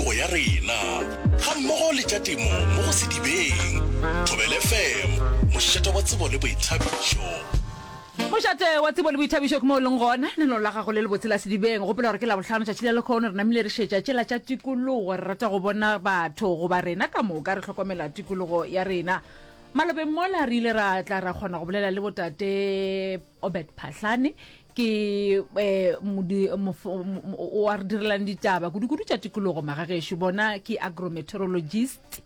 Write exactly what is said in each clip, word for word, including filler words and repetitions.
tikologo ya rena gammogo le tša temo mo go Sedibeng. Thobela F M, mošate wa tsebo le boithabišo. Mošate wa tsebo le boithabišo ke mo o leng gona lenaneo la gago le lebotse la Sedibeng. Gopola gore ke Labohlano tšatši la lekhono, re namile re šetša tšela tša tikologo. Re rata go bona batho goba rena ka moka re hlokomela tikologo ya rena. Malobeng mola re ile ra tla ra kgona go bolela le botate Obed Phahlane, ke um o a re direlang ditaba kudu-kudu tša tikologo magagešo. Bona ke agrometeorologist,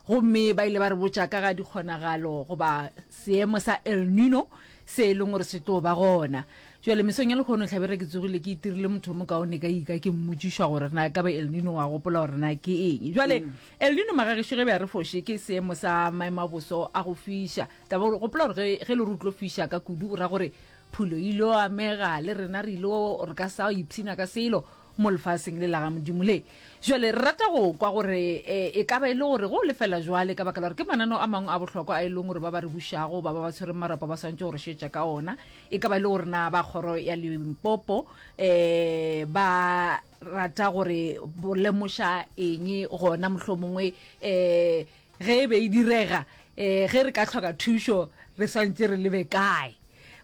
gomme ba ile ba re botša ka ga dikgonagalo goba seemo sa El Nino se e leng gore se tlo ba gona. Jwale mesong ya lekgono hlabere ke tsogile ke itirile motho o mokaone ka ika ke mmotšišwa gore na ka ba El Nino wa gopola gore na ke eng. Jwale mm. El Nino magagešo ge be a re foše ke seemo sa maemo a boso a go fiša. Taba gore gopola gore ge le re o tlo fiša ka kudu o ra gore phulo ile amega le rena re ile re ka sa ipshina ka selo mo lefaseng le la ga Modimo le. Jwale re rata go kwa gore e ka ba e le gore go lefela jwale ka baka la gore ke mananeo a mangwe a bohlokwa a e leng gore ba ba re bušago ba ba ba tshwereng marapo ba swantše gore šetša ka ona. E ka ba e le gore na ba kgoro ya Limpopo um ba rata gore bo lemoša eng gona mohlomongwe um ge e be e direga um ge re ka hloka thušo re swantše re lebe kae.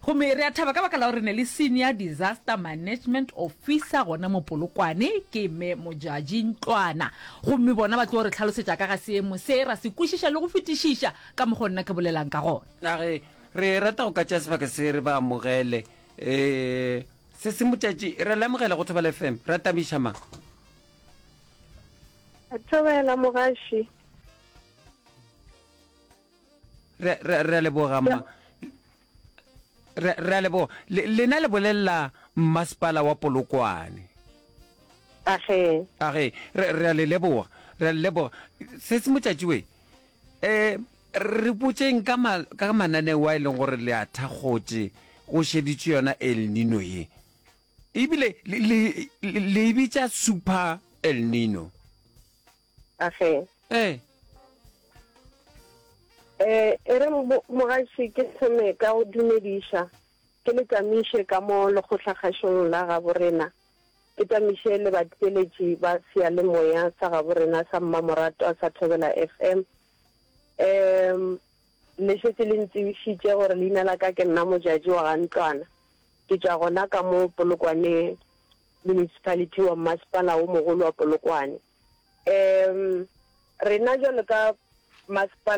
Gomme re a thaba ka baka la gore ne le senior disaster management officer gona mo Polokwane ke mme Modjadji Ntlwana, gomme bona ba tlo re hlalosetša ka ga seemo se ra se kwešiša le go fetišiša ka mokgwa nna ke bolelang ka gona. A re re rata go ka tšea sebaka se re ba amogele um se se Modjadji, re le amogela go Thobela F M, re tamiša mang? Thobela mogaši. Re re re a leboga mma. Re re a leboga. Lena le bolelela mmasepala wa Polokwane. Age. Age, re re a le leboga. Re a le leboga. Se se Modjadji we. Eh re botšeng ka ma, ka mananeo a e leng gore le a thakgotše go šeditše yona El Nino ye. Ebile le le le e bitša Super El Nino. Age. Eh. Eh, e re mogaši ke thome ka go dumediša, ke le tamiše ka mo lekgotlakgašong la gabo rena, ke tamiše le batheeletši ba seyalemoya sa gabo rena sa mmamoratwa sa Thobela F M. Um le šetše le ntsebišitše gore leina la ka ke nna Modjadji wa ga Ntlwana. Ke tšwa gona ka mo Polokwane Municipality wa mmasepala wo mogolo wa Polokwane. Um rena jwalo ka masepala